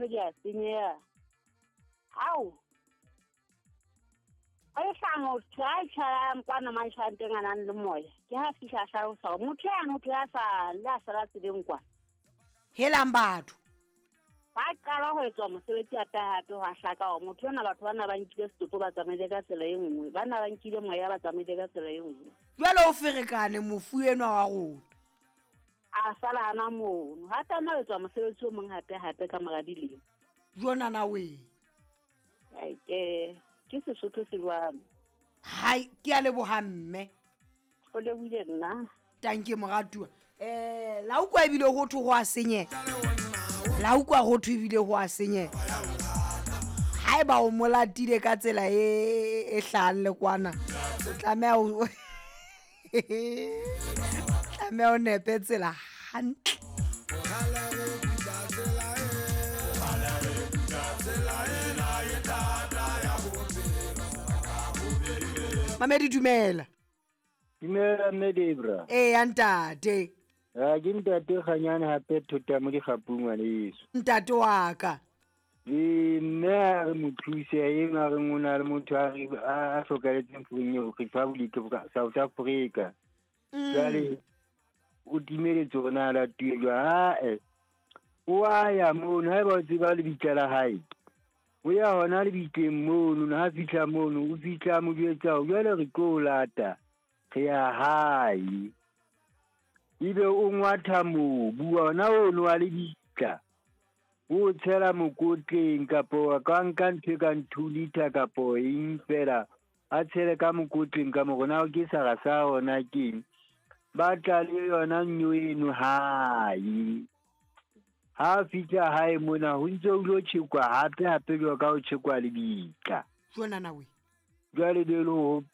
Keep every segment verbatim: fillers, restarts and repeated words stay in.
dintho di a senyeha. Ao. A e hlaha motho a tjhayang kwana mantjhanteng a nang le moya. Ke ha fihla a hlalosa hore motho yane o tle a sa le a sala tseleng kwana. Helang batho. Ba qala ho etswa mosebetsi hape hape ho a hlaka hore motho ona batho bana ba nkile setopo ba tsamaile ka tsela e nngwe. Bana ba nkile moya ba tsamaile ka tsela e nngwe. Jwale o ferekane mofu enwa wa rona. A sala hana mono. Ha tsamaya etswa mosebetsi o mong hape hape ka mora dilemo. Jona na we. Ai ke ke Sesotho se jwang. Hai, ke a leboha mme. O lebohile nna. Tanke moratuwa. Eh, la utlwa ebile ho thwe ho a senyeha. La utlwa ho thwe ebile ho a senyeha. Haeba o molatile ka tsela e e hlahang le kwana, o tlameha o tlameha o nepe tsela hantle. Mamedi dumela. Dumela mme Debra. Eh ntate. Ha ke ntate Kganyane hape thota mo dikgapung ngwaneso. Ntate wa ka. Eh mme a re mo thuse e a re ngona le motho a re a hlokaletseng fong eo Republic of South Africa. Jwale o timeletse rona la tuelwa ha eh. O a ya mono haeba o tseba lebitla la hae. O ya hona lebitleng mono ha fihla mono o fihla mo jwetsa jwale re tlo lata re ya hae. Ebe o ngwatha mobu ona ono wa lebitla o tshela mokotleng kapo ka nka ntho e kang two liter kapo eng fela a tshele ka mokotleng ka morona ke sara sa ona keng ba tla le yona nyo eno hae. Ha fihla hae mona ho ntse o lo tjhekwa hape hape jwa ka o tjhekwa lebitla. Jona na we. Jwale be le ho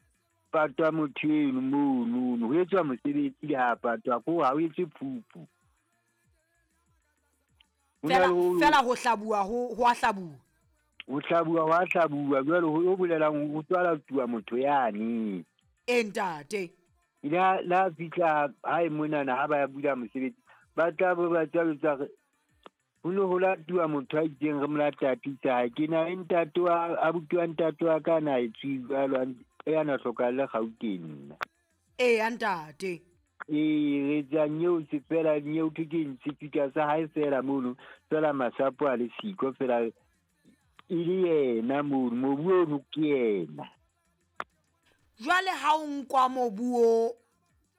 patwa motho eno mono ho etswa mosebetsi le ha patwa ko ha o etse phupu. Fela fela ho hlabuwa ho ho a hlabuwa. Ho hlabuwa ho a hlabuwa jwale ho bolelang ho tswala tuwa motho yane. E ntate. Ila la fihla hae monana ha ba ya bula mosebetsi ba tla bo ba tla ho no ho latuwa motho a itseng re mo lata ha ke na ntate wa abuti wa ntate wa ka na e tswalwa e ana hlokalle Gauteng nna. Eh ntate. Eh re tsa nyeo se fela nyeo ke ke ntse sa hae fela mono fela masapo a le siko fela e le yena mono mobu ono ke yena. Jwale ha o nkwa mobu o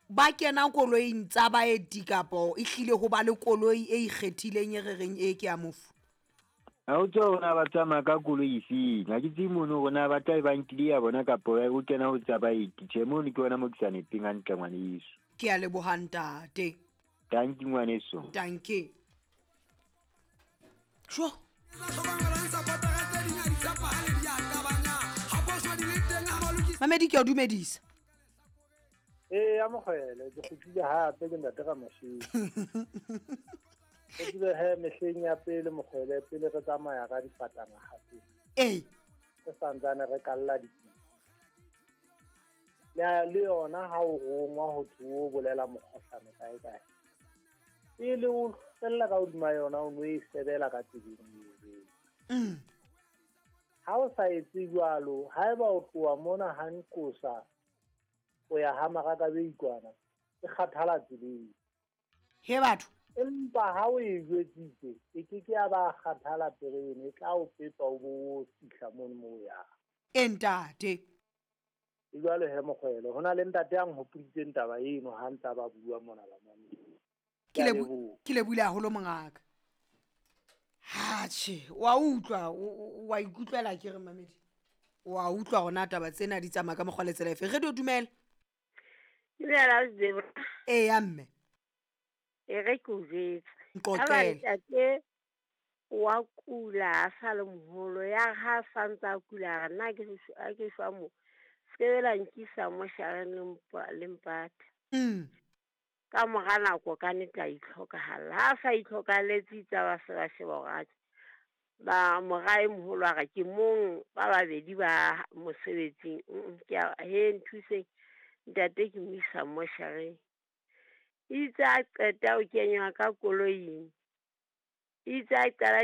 ba kena koloing tsa baeti kapo e hlile ho ba le koloi e ikgethileng e re reng e ke ya mofu. Ha o tswa rona ba tsamaya ka koloi efeng ha ke tsebe mono rona ba tla e ba nkile ya bona kapo o kena ho tsa baeti. Tjhe mono ke yona mo ke sa nepeng hantle ngwaneso. Ke a leboha ntate. Tanki ngwaneso. Tanki. Sho. Mamedi ke a dumedisa. Eh ya mogwele ke kgutlile hape ke ntate ka mashini. Ke tsebe he mehleng ya pele mogwele pele re tsamaya ka difatana hape. Eh. Re santsane re kalla dipitsa. Le le yona ha o rongwa ho thwe o bolela mokgohlane kae kae. Pele o fella ka hodima yona o no e sebela ka tseleng eo. Mm. Ha o sa etse jwalo haeba o tloha mona ha nqosa o ya ha maraka be ikwana e kgathala tseleng. He batho. Empa ha o e jwetsitse e ke ke ya ba kgathala terene e tla o pepa o bo fihla mono mo ya. E ntate. E jwale he mokgwele hona le ntate ya nhopoditseng taba eno ha ntsa ba bua mona ba mane. Ke le ke le bula haholo mongaka. Ha tjhe wa utlwa wa ikutlwela ke re Mamedi. Wa utlwa hona taba tsena di tsamaya ka mokgwa le tsela efe. Re di dumela. Dumela Debra. Eh ya mme. E re ke o jwetse. Nqoqele. Ntate wa kula a sa le moholo ya ha sa ntsa kula nna ke a ke shwa mo. Skebela nkisa mo shareng le mpata. Mm. Ka mora nako ka nnete a itlhokahalla. Ha sa itlhokaletse tsa ba se ba sheba hore ba mora e moholo a re ke mong ba babedi ba mosebetsing ke he nthuseng ntate ke mo isa moshareng. Itse a qeta o kenywa ka koloing. Itse a qala